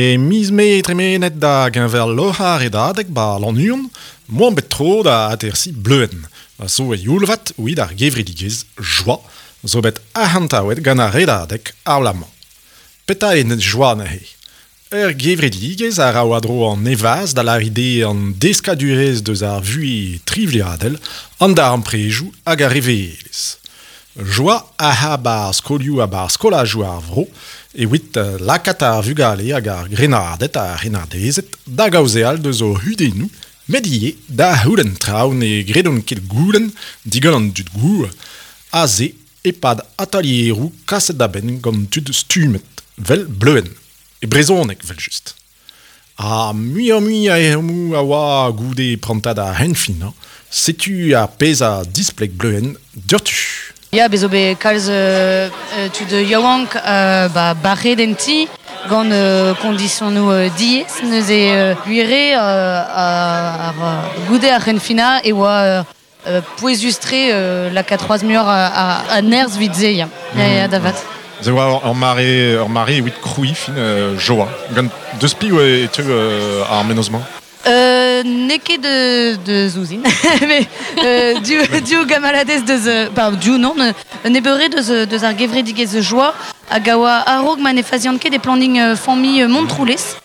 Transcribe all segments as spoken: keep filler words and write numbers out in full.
E miz mae tremenet da geñver loc'h ar redadeg ba Lannuon, moan bet tro da atersi Bleuenn. A zo e youlvat evit ar gevredigezh Joa, zo bet arc'hantaouet gant ar redadeg ar bloaz-mañ. Petra eo net Joa neuze? Ur gevredigezh a ra war-dro an nevaz da lâret eo an deskadurezh deus ar vuhez trivliadel, an darempredoù hag ar revelezh. Joa a ra 'ba ar skolioù ha 'ba ar skolajoù ar vro evit lakaat ar vugale hag ar grennarded ha ar c'hrennardezed da gaozeal deus o c'hudennoù, met ivez da c'houlenn traoù ne gredont ket goulenn digant an dud gour, aze e-pad atalieroù kaset da benn gant tud stummet, 'vel Bleuenn, e brezhoneg 'vel-just. Ha muioc'h-mui a ezhommoù a oa goude prantad ar c'henfinañ, setu ar pezh a displeg Bleuenn diouzhtu. Ya, bez zo bet kalz euh, tud yaouank euh, ba barret en ti gant euh, kondisionoù euh, diaes neuze euh, gwir eo euh, ar, goude ar c'henfinañ e oa euh, pouezus-tre euh, lakaat c'hoazh muioc'h a, a, a nerzh 'vit se, ya. Ya, ya, da vat. Se oa ur mare, ur mare evit krouiñ fin euh, Joa. Gant deus piv e teu euh, ar mennozh-mañ? Euh, n'eo ket de, de ouzhin. Mais euh, div, div gamaladez deus, euh, pardon, div non, nebeure deus, deus ar gevredigezh Joa hag a oa a-raok ma ne fazian ket e planning euh, familh Montroulez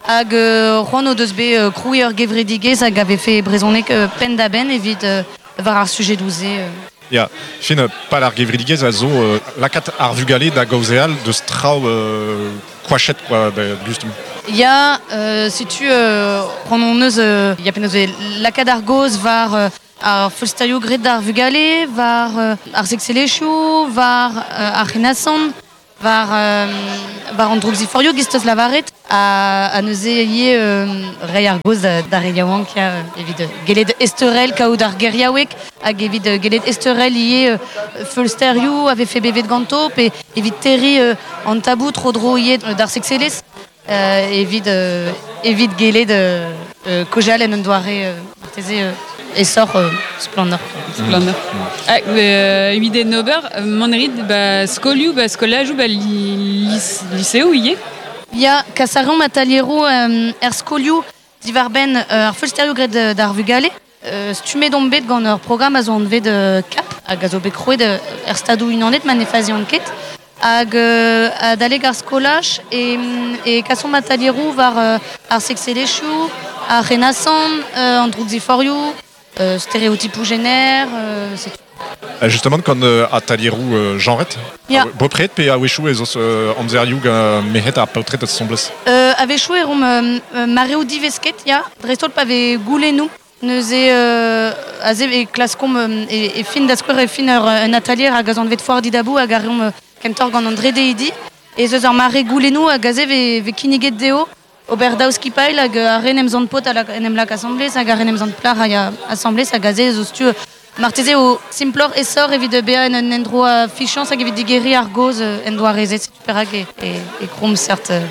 hag euh, c'hoant o deus bet euh, krouiñ ur gevredigezh hag a vefe brezhoneg euh, penn-da-benn evit euh, war ar sujet douze. Euh. Ya, fin pal ar gevredigezh a zo euh, lakaat ar vugale da gaozeal deus traoù euh, koachet quoi, da gustum. Ya, euh, setu euh, c'hoant hon eus euh, ya penaos e lakaat ar gaoz war euh, ar feulsterioù graet d'ar vugale, war euh, ar sekselezhioù, war euh, ar c'henasant, war, euh, war an droukziforioù giz 'teus lavaret, ha, ha neuze ivez euh, reiñ ar gaoz da, d'ar re yaouank ya, evit gellet ezteurel kaout ar geriaoueg hag evit gellet ezteurel ivez euh, feulsterioù a vefe bevet ganto pe evit terriñ euh, an tabou tro-dro ivez d'ar sekselezh. Euh, evit, euh, evit gellet euh, euh, kaozeal en un doare euh, marteze euh, aesoc'h euh, splannoc'h. Splannoc'h. Ah, euh, evit en ober, mont a rit ba skolioù, ba skolajoù, ba li, lis, liseoù ivez? Ya, kas a reomp atalieroù euh, er skolioù diwar-benn euh, ar feulsterioù graet d'ar vugale. Euh, stummet omp bet gant ur programm a zo anvet euh, CAP, hag a zo bet krouet euh, er Stadoù Unanet ma ne fazian ket. Hag euh, adalek ar skolaj e, e kasomp atalieroù war euh, ar sekselezhioù, ar c'henasant, euh, an droukziforioù, euh, stereotipoù jener, euh, c'est tout. Euh, justement, gant euh, atalieroù euh, genret, Ya. bepred pe a-wechoù ez eus euh, amzerioù gant merc'hed ha paotred asambles. Euh, a-wechoù e reomp euh, mareoù divesket, ya, dreist-holl pa vez goulennoù. Neuze euh, aze e klaskomp euh, e, e fin da skouer e fin ur, un atalier hag a zo anvet foar didabou hag a reomp euh, kentoc'h gant an dredeidi. Ez eus ur mare goulennoù hag aze ve, ve kinniget dezho ober daou skipailh hag ar re en em zant paotr a en em lak asambles hag ar re en em zant plac'h hag a asambles hag aze ez eus tu marteze o simploc'h aesoc'h evit bezañ en un endro a fichañs hag evit digeriñ ar gaoz en doare-se, setu perak e, e, e krouomp seurt euh,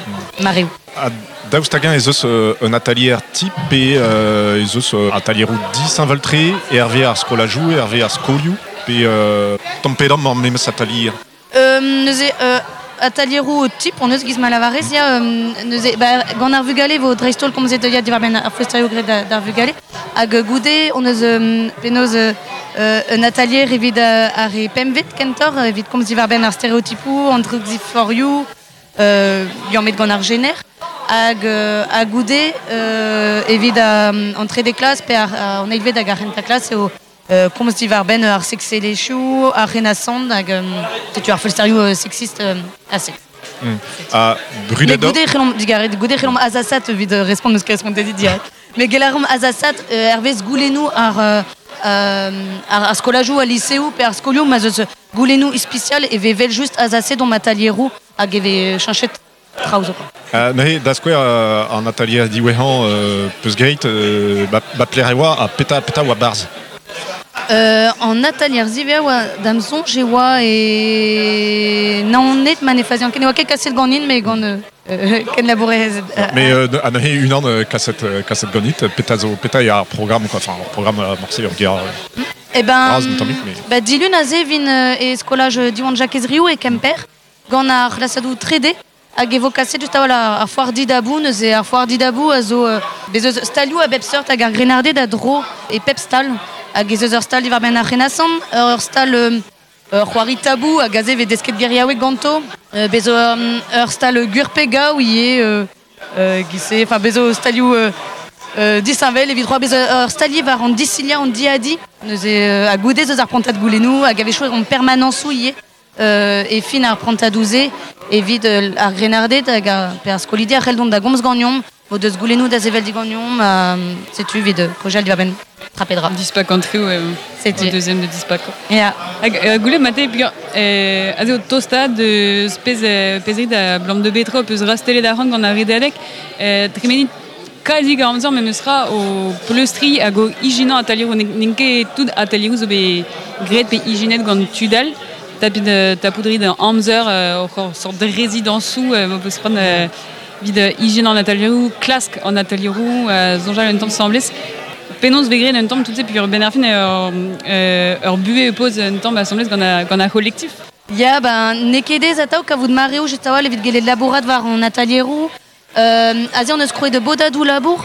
mareoù. Ha daoust hag-eñ ez eus euh, un atalier type pe euh, ez eus euh, atalieroù disheñvel-tre, hervez ar skolajoù, hervez ar skolioù, pe euh, tamm pe damm ar memes atalier. Euh, neuze euh, atalieroù type on eus giz ma lavarez, ya, euh, neuze, ba, gant ar vugale vo dreist-holl komzet ya diwar-benn ar feulsterioù graet da, d'ar vugale. Hag goude on eus euh, penaos euh, un atalier evit euh, ar re pempvet kentoc'h, evit komz diwar-benn ar stereotipoù, an droukziforioù, euh, liammet gant ar jener. Hag, euh, ha goude euh, evit euh, an trede klas pe ar, an eilvet hag ar c'hentañ klas eo euh, komz diwar-benn ar sekselezhioù, ar c'henasant hag euh, setu ar feulsterioù euh, sexiste euh, ha sex. Mm. Ha Mais brudet goude c'hellomp digaret, goude c'hellomp azasat evit euh, respont eus ket respontet dit direct. Mais gellet a reomp azasat euh, hervez goulennoù ar, euh, ar, ar skolajoù, al liseoù pe ar skolioù ma 'z eus goulennoù ispisial e vez vel just azaset omp atalieroù hag e vez cheñchet traoù zo quoi. Euh, neuze, da skouer euh, an atalier diwezhañ euh, peus graet, euh, ba, ba pelec'h e oa ha petra, petra oa 'barzh. Euh, an atalier ziwezhañ oa da'm soñj e oa e Naoned ma ne fazian ket ne oa ket kaset ganin mais gant euh, kenlabourerezed. Mais euh, ha neuze unan euh, kaset, euh, kaset ganit, petra zo, petra eo ar programm quoi, enfin ar programme euh, morse ur ger euh, Eh ben, bras un tammig, mais ba dilun aze vin euh, e skolaj Diwan Jakez Riou e Kemper gant ar c'hlasadoù trede Hag e vo kaset just a-walc'h ar, ar foar didabou, neuze ar foar didabou a zo euh, bez eus stalioù a bep seurt hag ar grennarded a dro e pep stal. Hag ez eus ur stal diwar benn ar c'henasan, ur stal euh, ur c'hoari tabou hag aze vez desket geriaoueg ganto. Euh, bez ur, ur stal gwir pe gaou ivez, euh, euh, giz-se, enfin bez zo stalioù euh, euh, disheñvel evit c'hoar bez ur stalier war an disilia an diadi. Neuze euh, ha goude eus ar prantad goulennoù hag a-wechoù an permanensoù ivez. Euh, e fin ar prantad-se evit euh, ar grennarded hag ar, pe ar skolidi a c'hell dont da gomz ganeomp, vo deus goulennoù da sevel diganeomp, euh, setu evit euh, kaozeal diwar-benn trapedra. Dispak entre ouais, Setu. au deuxième de dispak. Ya. Hag euh, goulet mate peogwir euh, aze o tostaat deus pezh euh, pezh rit a blam de betra peus rastelet arc'hant gant ar redadeg euh, tremenit kazi gant amzer memes tra o pleustri hag o ijinañ atalieroù n'int ket tout atalieroù zo bet graet pe ijinet gant tud all tapit euh, tapout rit amzer euh, oc'h sort de résidensoù euh, vo peus c'hoant euh, vid euh, ijinañ an atalieroù, klask an atalieroù, euh, soñjal un tamm asambles. Penaos vez graet un tamm tout se peogwir benn ar fin ur, euh, ur buhez e poz un tamm asambles gant a, gant ar c'holektif. Ya, ben, n'eo ket aes atav kavout mareoù just a-walc'h evit gellet labourat war an atalieroù. Euh, aze on eus krouet de bodadoù labour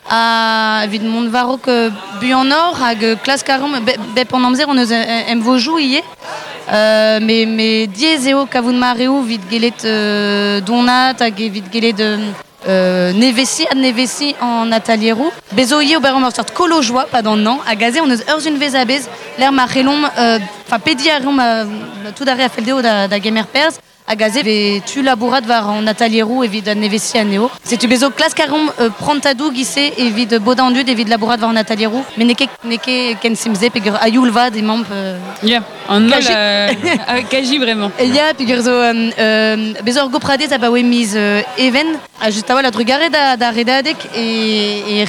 ha evit mont war-raok euh, buanoc'h hag euh, klask a reomp be, bep an amzer on eus emvojoù ivez. Euh, mais, mais diaes eo kavout mareoù evit gellet euh, donat hag evit gellet euh, nevesiñ adnevesiñ an atalieroù. Bez zo ivez ober ur sort kolo joa pad an hañv hag aze on eus ur sizhunvezh a-bezh lec'h ma c'hellomp euh, enfin pediñ a reomp euh, tout ar re a fell dezho da, da gemer perzh hag aze vez tu labourat war an atalieroù evit adnevesiñ anezho. Setu bez zo klask a reomp euh, prantadoù giz-se evit bodañ an dud evit labourat war an atalieroù, met n'eo ket n'eo ket ken simpl-se peogwir a-youl vat emaomp euh, Ya, an holl Kaji. euh, kaji vraiment. Ya, peogwir zo euh, euh, bez ur gopradez abaoe miz euh, even, ha just a-walc'h a-drugarez da, da redadeg e, e